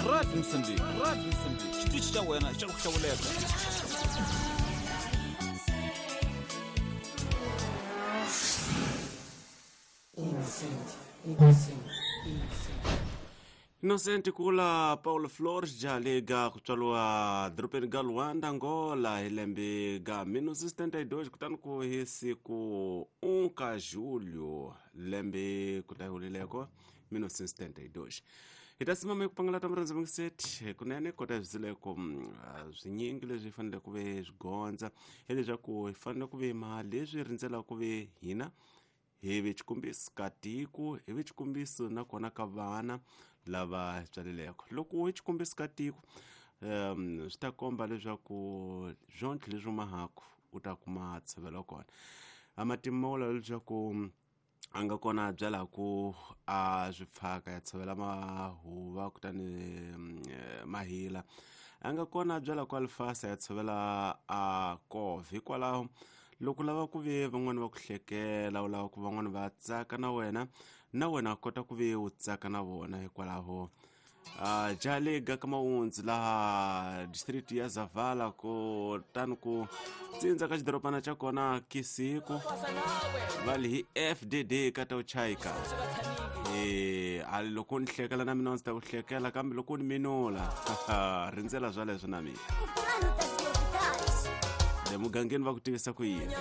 Radio Moçambique, Radio Moçambique, xitichi xa wena xa ku hlawuleka. Innocent, innocent, innocent. Innocent kula Paulo Flores Jaliga ku tswariwa dorobeni ga Luanda, Angola hi lembe ga 1972, kutani ku hi siku 1 ka Julho lembe ku ta hulileko 1972. Hi ta simama eku pangalata murhandzi mungiseti kunene kota hi swizileko swinyingi leswi hi fanele ku ve swi gondza, hileswaku hi fanele ku ve ma leswi rindzelaka ku ve hina hi ve xikombiso ka tiko, hi ve xikombiso nakona ka vana lava tswaleleko. Loko hi xikombiso ka tiko, swi ta komba leswaku swontlho leswi humahaku u ta kuma ntshovelo kona. A matimu ma vula leswaku a nga kona a byalaku a swi pfaka ya tshovela mahuva kutani mahila, a nga kona a byalaku alifasa ya tshovela a kove. Hikwalaho loko lava ku ve van'wani va ku hlekela, u lava ku van'wani va tsaka na wena, na wena kota ku ve u tsaka na vona. Hikwalaho Jaliga ka Mawundzi laha district ya Zavala, kutani ku tsindza ka xidorobana xa kona Kisiku, va li hi FDD ka ta uchayika. A loko ni hlekela na mina ndzi ta ku hlekela, kambe loko ni minula rindzela swaleswo na mina. Le mugangeni va ku tivisa ku yini?